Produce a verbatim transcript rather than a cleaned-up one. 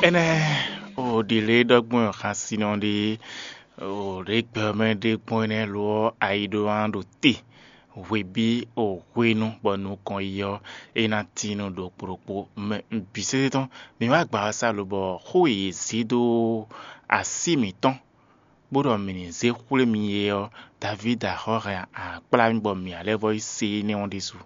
Énɛ́ o ɖi lě ɖɔgbɔn xasinɔ ɖé o ɖě gbɛ ɔ́ mɛ ɖé gbɔn énɛ́ lo ɔ́ ayi ɖó án ɖo te hwebí o hwenu bɔ nukɔn yi ɔ́ é ná tín nú ɖokpó ɖokpó mɛ bǐ sésé tɔn. Mǐ wá gbǎ ɔ́ sá lobɔ xó e yě zě dó así mǐtɔn bó ɖɔ mǐ ní zé xwlé mi é ɔ́, Davídi axɔ́ hɛn akplá mì bɔ mǐ ǎ lɛ́ vɔ́ yi se énɛ́ ɔ́ ɖésú.